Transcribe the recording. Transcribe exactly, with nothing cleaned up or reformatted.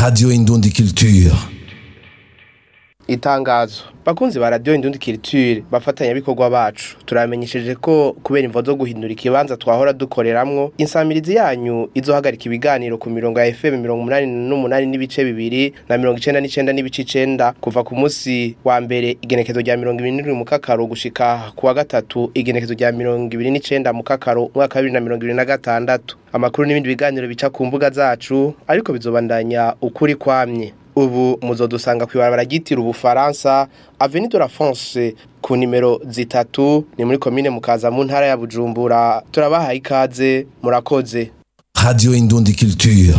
Radio Indundi Culture. Itangazo: bakunzi ba Radio Indundi Culture, bafatanyabikorwa bacu, turamenyesheje ko kubera imvo zo guhindura ikibanza twahora dukoreramwo, insamirizi yanyu izohagarika ibiganiro ku mirongo ya F M mirongo umunani n'umunani n'ibice bibiri na mirongo icenda n'icenda n'ibice icenda kuva ku munsi wa mbere igenekezo rya mirongo ibiri n'indwi mu Kakaro gushika ku wa gatatu igenekezo rya mirongo ibiri n'icenda mu Kakaro umwaka wa bibiri na mirongo ibiri na gatandatu. Amakuru n'ibindi biganiro bica ku mbuga zacu, ariko bizobandanya ukuri kwamye. Ubu muzodusanga kw'ibarabara ryitiriwe Ubufaransa, Avenue de la France, ku nimero zitatu, ni muri komine Mukaza mu ntara ya Bujumbura. Turabahaye ikaze, murakoze. Radio Indundi Culture.